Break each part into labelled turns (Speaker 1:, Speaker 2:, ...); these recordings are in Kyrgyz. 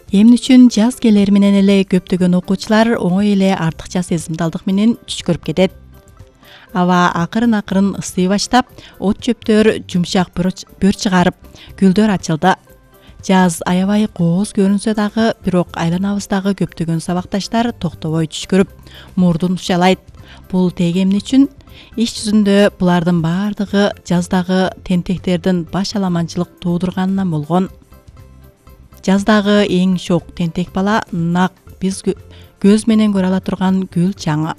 Speaker 1: Эмне үчүн жаз келери менен эле көптөгөн окуучулар оңой эле артыкча сезимдалдык менен түш көрүп кетет. Аба акырын ысый баштап, от чөптөр жумшак бөр чыгарып, гүлдөр ачылды. Жаз аябай кооз көрүнсө дагы, бирок айланабыздагы көптөгөн сабакташтар токтобой түш көрүп, мурдун ушалайт. Бул тег эмне үчүн? Иш жүзүндө булардын баардыгы жаздагы тентектердин баш аламанчылык туудурганынан болгон. Жаздагы эң шок тентек бала нак биз көз менен көрө ала турган гүл чаңы.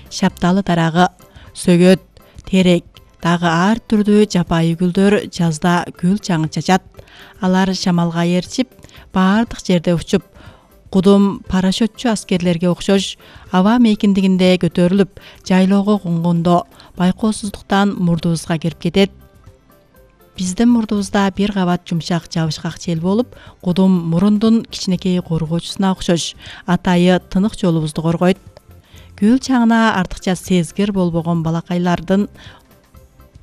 Speaker 1: Шапталы дарагы, сөгөт, терек, дагы ар түрдүү жапайы гүлдөр жазда гүл чаңы чачат. Алар шамалга ээрчип, баардык жерде учуп, кудум парашютчу аскерлерге окшош аба мейкиндигинде көтөрүлүп, жайлоого конгондо байкоосуздуктан мурдубузга кирип кетет. Биздин мурдубузда бир кабат жумшак жабышкак жел болуп, кудум мурундун кичинекей коргоочусуна окшош атайы тынык жолубузду коргойт. Гүл чаңына артыкча сезгир болбогон балакайлардын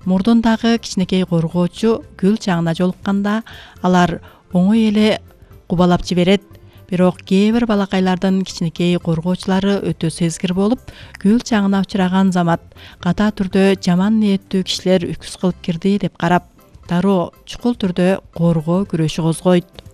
Speaker 1: мурдундагы кичинекей коргоочу гүл чаңына жолукканда алар оңой эле кубалап жиберет. Бирок кээ бир балакайлардын кичинекей коргоочулары өтө сезгир болуп, гүл чаңына учураган замат ката түрдө жаман ниеттүү кишилер үкүс кылып кирди деп карап, дароо чукул түрдө коргоо күрөшү козгойт.